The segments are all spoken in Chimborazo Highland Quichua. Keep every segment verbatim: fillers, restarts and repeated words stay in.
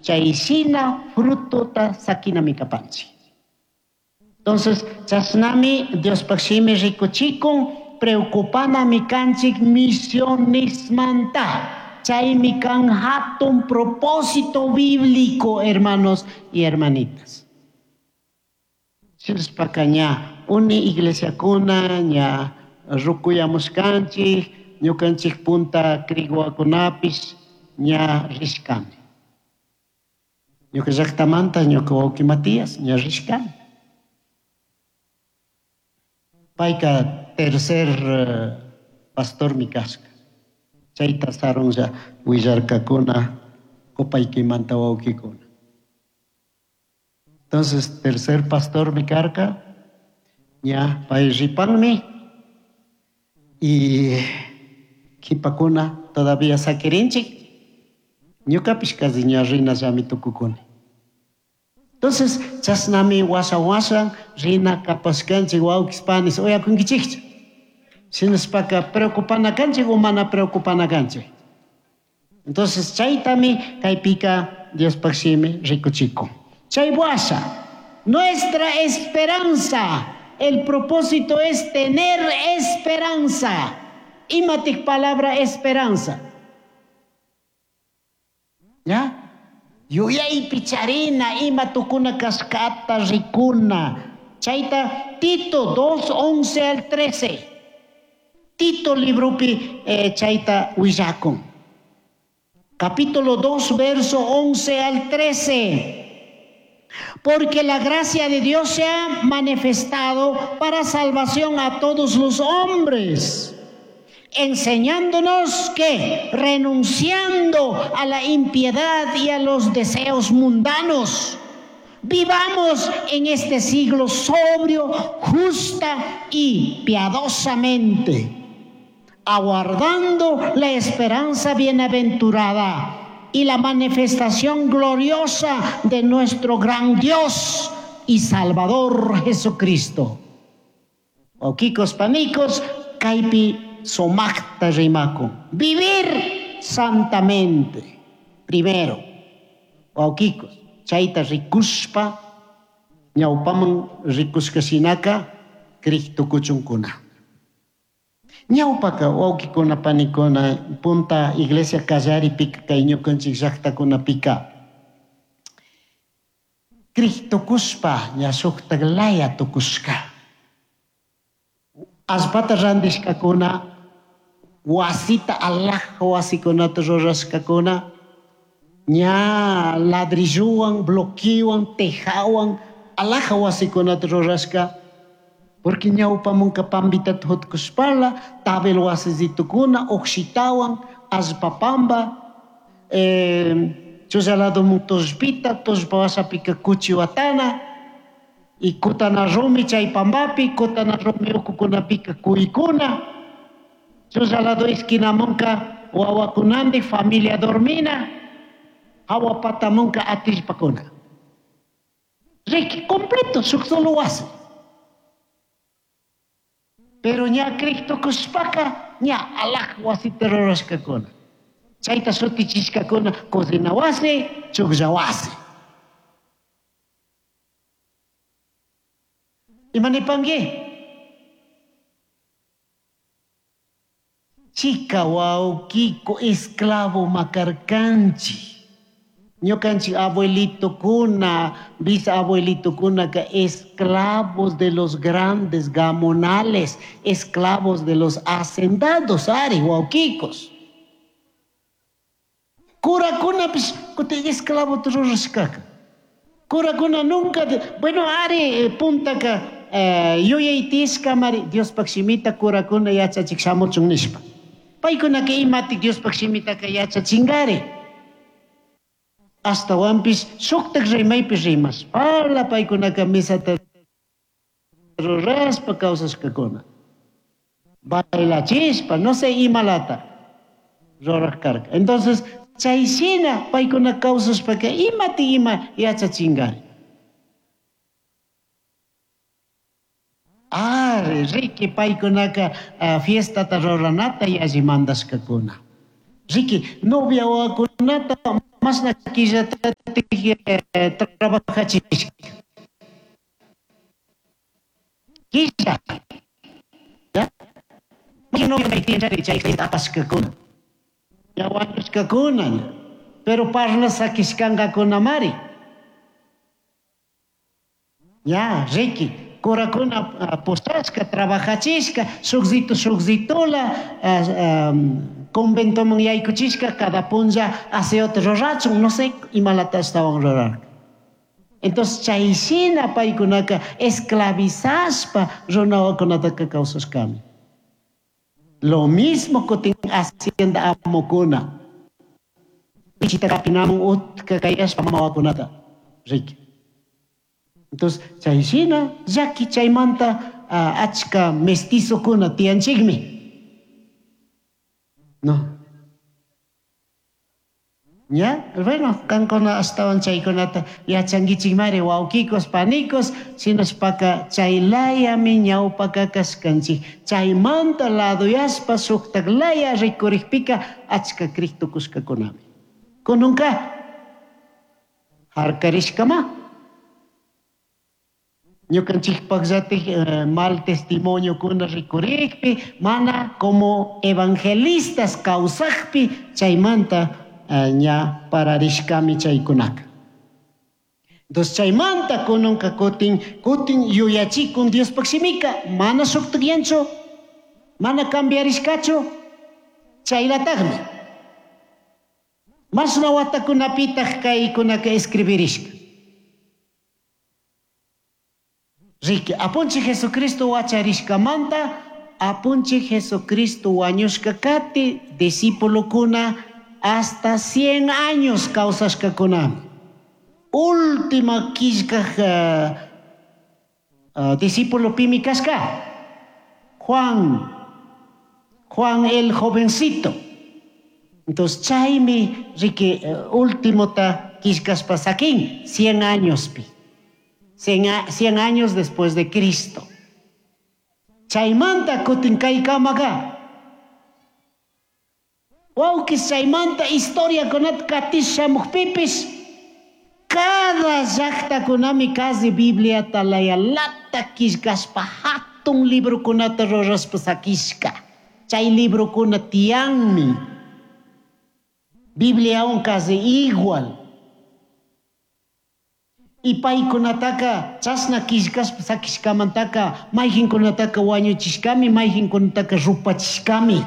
Chayshina frutota sakinami kapanchik. Entonces, chashnami Diospaj shimi rikuchikun, preocupanami kanchik misionesmanta. Chaymi kan hatun propósito bíblico, hermanos y hermanitas. Shinaspaka ña uni iglesiakuna ña rukuyamushkanchik, ñukanchik punta kriguakunapish ña rishkani. Ñuka llaktamanta ñuka wawqi Matías ña rishkani. Payka tercer pastormi kashka. Chayta sarunlla willarkakuna Copaykimanta wawqikuna. Entonces, tercer pastormi karka, ña pay ripanmi y kipakuna todavía sakirinchik, ñukapish casi ña rinallami tukukuni. Entonces, chashnami washa washa rina kapashkanchik wawqis panis uyakunkichikchu. Shinashpaka preocupana kanchik o mana preocupana kanchik. Entonces, chaytami kaypika Diospaj shimi rikuchikun. Chay washa, nuestra esperanza, el propósito es tener esperanza. Imatik palabra esperanza. ¿Ya? Yuyaypi charina, ima tukuna kashkata rikuna. Chayta Tito dos, once al trece. Tito libropi eh, chayta willakun. Capítulo dos, verso once al trece. Porque la gracia de Dios se ha manifestado para salvación a todos los hombres, enseñándonos que, renunciando a la impiedad y a los deseos mundanos, vivamos en este siglo sobrio, justa y piadosamente, aguardando la esperanza bienaventurada y la manifestación gloriosa de nuestro gran Dios y Salvador Jesucristo. Wawqikos panikos, kaypi sumakta rimakun. Vivir santamente. Primero, wawqikos, chayta rikushpa, ñawpaman rikushkashinaka, kriktukuchunkuna. Ñawpaka wawqikuna panikuna, punta iglesia kallaripika kay ñukanchik llaqtakunapika. Kriktukushpa ña shuktak laya tukushka. Allpata randishkakuna, wasita alhaja wasikunata rurashkakuna, ña ladrillowan, bloquewan, tejawan, alhaja wasikunata rurashka. Porque ñawpamunka pambitata hutkushpala, tabel wasisitukuna, ukshitawan, allpapamba, eh, chullaladomun tullpita, tullpa wasapika kuchiwatana, y kutana rumi chay pambapi, kutana rumi ukukunapika kuykuna, chullalado esquinamunka wawakunandi familia dormina, hawa patamunka atillpakuna. Riki completo, shuk solo wasi. Pero ña Cristo kushpaka, ña alaj wasita rurashkakuna. Chayta shutichishkakuna, cocina wasi, chuklla wasi. Imanipangi? Chica wawkiko esclavo makarkanchi. Ñukanchik abuelito kuna, bisabuelito kuna ka esclavos de los grandes gamonales, esclavos de los hacendados, ari wawkikos. Curakuna pis kuti esclavo rurashkaka. Curakuna nunca, de, bueno, ari puntaka, eh, yuyaytishka mari Diospaj shimita curakuna yachachik shamuchun nishpa. Paykunaka imatik Diospaj shimitaka yachachingari. Astawanpis shuktak rimaypi rimashpala paykunaka misata rurashpa kawsashkakuna. Bailachishpa, no sé, imalata ruraj karka. Entonces, chayshina paykuna kawsashpaka imati ima yachachingari. Ari, riki paykunaka, ah, fiestata ruranata yalli mandashkakuna. Riki, novia wawakunata Mashna quillatatik trabajachishka. Quilla. ¿Ya? Chay apashkakuna. Ya wañushkakuna. Pero parla sakishkankakunamari. Ya, Ricky. Curakuna postashka, trabajachishka, shukzito shukzitola, conventoman yaykuchishka, cada punlla aseota rurachun, no sé, imalata estaban rurar. Entonces, chayshina paykunaka esclavizashpa runawakunataka kawsashkami. Lo mismo kutin hacienda amukuna. Pichita kapinamun utka kayashpa mamawakunata. Ricky. Entonces, chayshina llaki chaymanta uh, achka mestizokuna tiyanchikmi. No. ¿Ya? Bueno, kankuna ashtawan chaykunata yachankichikmari wawkikos, panikos, shinashpaka chaylayami ñawpaka kashkanchik. Chaymanta laduyashpa shuktak laya rikurikpika achka krik tukushkakunami. Kununka harkarishkama. Ñukanchikpakllatik eh, mal testimonio kuna rikurikpi, mana como evangelistas kawsakpi chaymanta eh, ña pararishkami chaykunaka. Entonces chaymanta kununka kutin kutin yuyachikun Diospaq shimika mana shuktakyanchu, mana cambiarishkachu, chaylatakmi. Mashna watakunapitaq kaykunaka escribirishka. Ricky, apunchi Jesucristo wacharishkamanta, apunchi Jesucristo wañushka kati, discípulokuna hasta cien años kawsashkakunami. Última killkaj uh, uh, discípulo pimi kashka, Juan, Juan el jovencito. Entonces, chaymi, Ricky, uh, último ta killkashpa sakin, cien años pi. Cien años después de Cristo. Chaymanta kutin kaykamaka. Wawkis chaymanta historia kunata katish shamuqpipis cada llaqtakunami casi Bibliata layalata killkashpa hatun librokunata rurashpa sakishka. Chay librokuna tiyanmi. Bibliawan casi igual. Y paykunataka chashna killkashpa sakishkamantaka mayqinkunataka wañuchishkami, mayqinkunataka rupachishkami.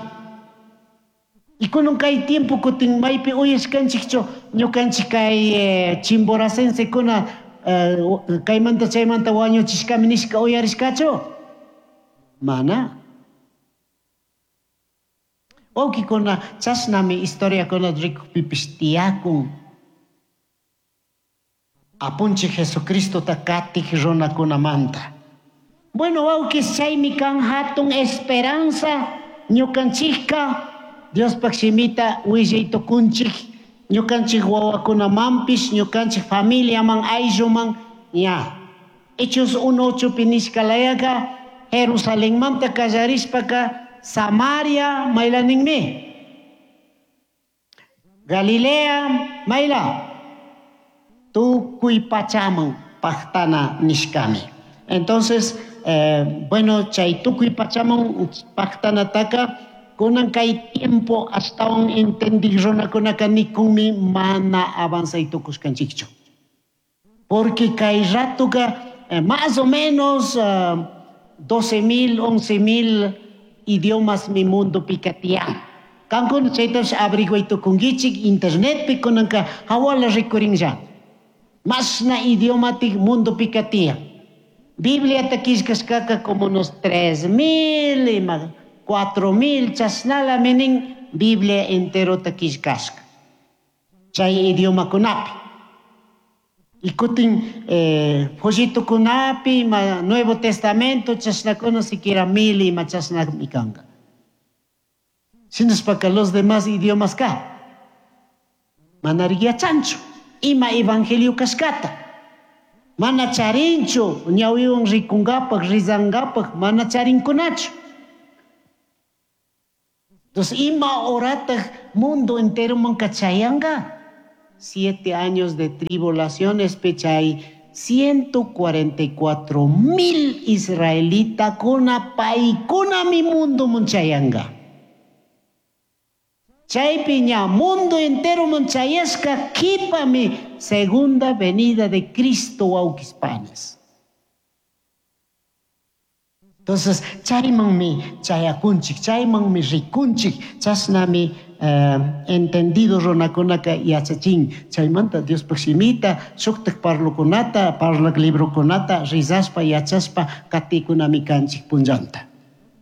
Y kunan kay tiempo kutin maypi uyashkanchikchu ñukanchik kay eh, chimboracensekuna eh, kaymanta chaymanta wañuchishkami nishka uyarishkachu? Mana. Wawqikuna chashnami historiakuna rikukpipish tiyakun. Apunchi Jesucristo ta katik runakunamanta. Bueno, wawkis chaymi kan hatun esperanza ñukanchikka Diospaq shimita willaytukunchik ñukanchik wawakunamanpish ñukanchik familiaman aylluman ña. Hechos uno ochopi nishka layaka Jerusalenmanta kallarishpaka Samaria maylaninmi. Galilea mayla. Tukuy pachaman paqtana nishkami. Entonces, eh, bueno, chay tukuy pachaman paqtanataka kunan kay tiempo ashtawan entendik runakunaka nikunmi mana avanzay tukushkanchikchu. Porque kay ratuka eh, más o menos eh, doce mil, once mil idiomas mi mundo pikatiyan. Kankuna chaytash averiguay tukunkichik internetpi kunanka hawala rikurinlla. Mashna idiomatik mundo pikatiyan. Biblia ta killkashkaka como unos tres mil, cuatro mil chashnala minin Biblia entero ta killkashka. Chay idiomakunapi. Y kutin eh, folletokunapi, ma Nuevo Testamento chashnakuna siquiera mil ima chashnami kanka. Shinashpaka los demás idiomas ka. Manari yachanchu. Ima evangelio kashkata. Mana charinchu, ñawiwan rikungapak, rizangapak, mana charinkunachu. Entonces, ima horataq mundo entero man kachayanga. Siete años de tribulaciones chay ciento cuarenta y cuatro mil israelitakuna paykunami mundoman chayanga. Chaypi ña mundo entero chayashka qhipami segunda venida de Cristo wawqispanas. Entonces, chaymanmi chayakunchik, chaymanmi rikunchik, chashnami eh, entendido runakunaka yachachin. Chaymanta Diospaj shimita, shuktak parlukunata, parlak librokunata, rizaspa, yachaspa, katikunami kanchik punllanta.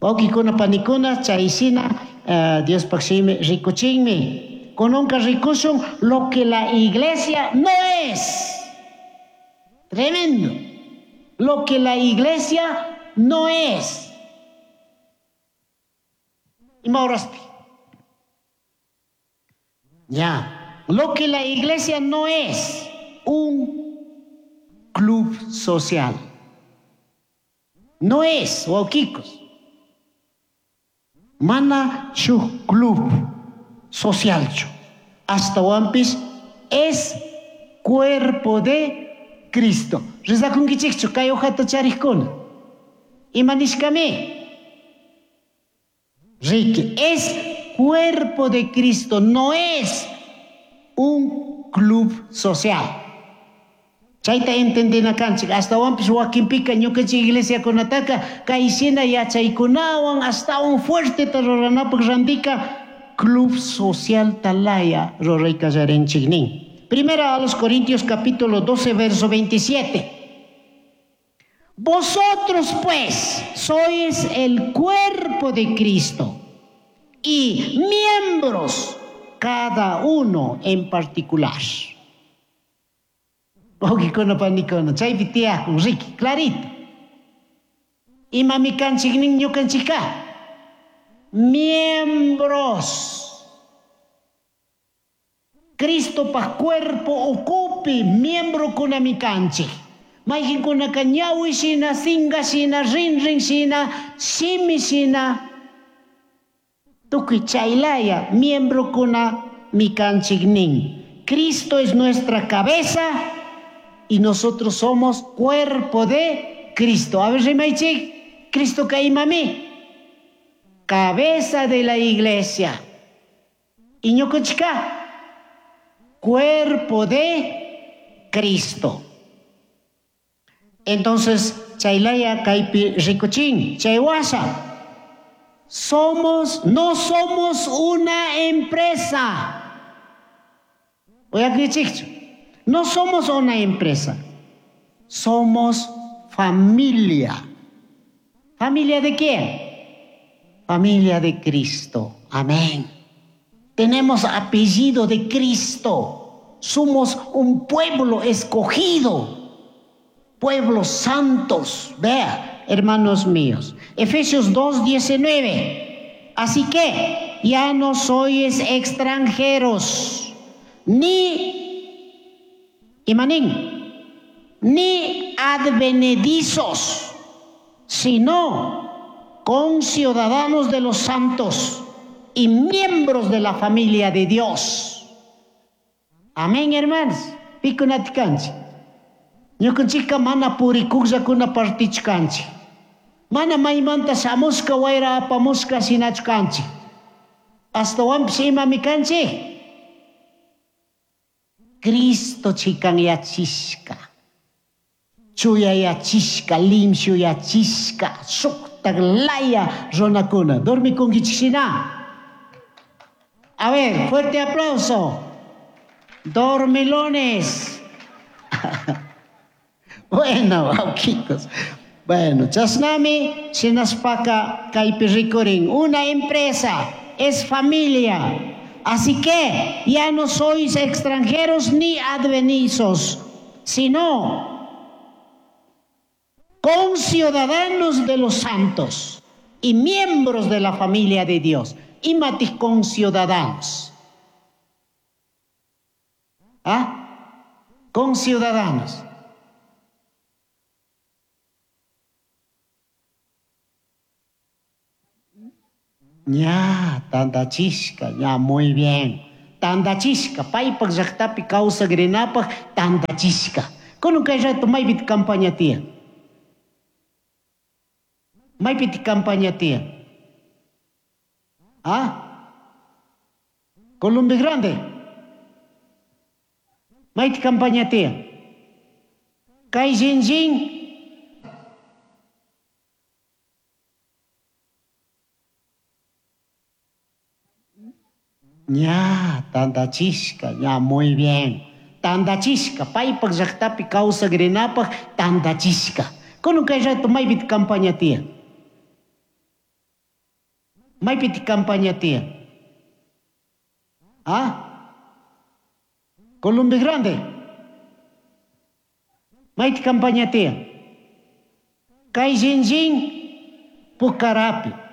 Wawqikuna panikuna, chayshina eh, Diospaj shimi rikuchinmi. Kunanka rikushun lo que la iglesia no es. Tremendo. Lo que la iglesia no es. Ima horaspi. Ya. Lo que la iglesia no es, un club social. No es, wawkikos. Mana shuk club socialchu. Ashtawanpish es cuerpo de Cristo. Rizakunkichikchu kay hojata charikuna. Ima nishkami? Ricky, es cuerpo de Cristo, no es un club social. Chayta entendina kanchik, ashtawanpish wakinpika ñukanchik iglesiakunataka kayshina yachaykunawan ashtawan fuerteta ruranapaq randika club social talaya ruraykallarinchik nin. Primera a los Corintios capítulo doce, verso veintisiete. Vosotros pues sois el cuerpo de Cristo y miembros cada uno en particular. Wawqikuna panikuna, chaypi tiyakun, Ricky, clarito. Imami kanchik nin ñukanchikka? Miembros. Cristopaj cuerpo ukupi miembrokunami kanchik. Mayqinkunaka ñawi shina, singa shina, rinrin shina, shimi shina, tukuy chaylaya miembrokuna mi kanchik nin. Cristo es nuestra cabeza y nosotros somos cuerpo de Cristo. A ver, rimaychik, Cristo ka imami? Cabeza de la iglesia. Y ñukanchikka, cuerpo de Cristo. Entonces, chaylaya kaypi rikuchin, chaywasha. Somos, no somos una empresa. Oye, no somos una empresa. Somos familia. ¿Familia de quién? Familia de Cristo. Amén. Tenemos apellido de Cristo. Somos un pueblo escogido. Pueblos santos. Vea, hermanos míos. Efesios dos, diecinueve. Así que ya no sois extranjeros, ni imanín, ni advenedizos, sino conciudadanos de los santos y miembros de la familia de Dios. Amén, hermanos. Pikunatikanchik. Ñukanchikka mana purikuqllakuna partichkanchik. Mana maymanta shamushka wayra apamushka shinachu kanchik. Ashtawanpish imami kanchik? Cristo chikanyachishka, chuyayachishka, limshuyachishka, shuktak laya runakuna. Dormikunkichik shina. A ver, fuerte aplauso. Dormilones. Bueno, wawkikos. Bueno, chasnami shinashpaka kaypi rikurin. Una empresa es familia. Así que ya no sois extranjeros ni advenizos, sino conciudadanos de los santos y miembros de la familia de Dios. Imatis conciudadanos. ¿Ah? Conciudadanos. Ya, tanta chisca, ya, muy bien. Tandachishka, paypak llaktapi kawsakrinapaj tandachishka. Kunan kay rato maypiti campaña tiyan? Maypiti campaña tiyan? ¿Ah? Colombia Grande. Mayti campaña tiyan? Kay shinllin ña tandachishka, ña muy bien. Tandachishka, paypak llaktapi kawsakrinapaj tandachishka. Kunan kay rato maypiti campaña tiyan? Maypiti campaña tiyan? ¿Ah? Colombia Grande. Mayti campaña tiyan? Kay shinllin Pucarapi.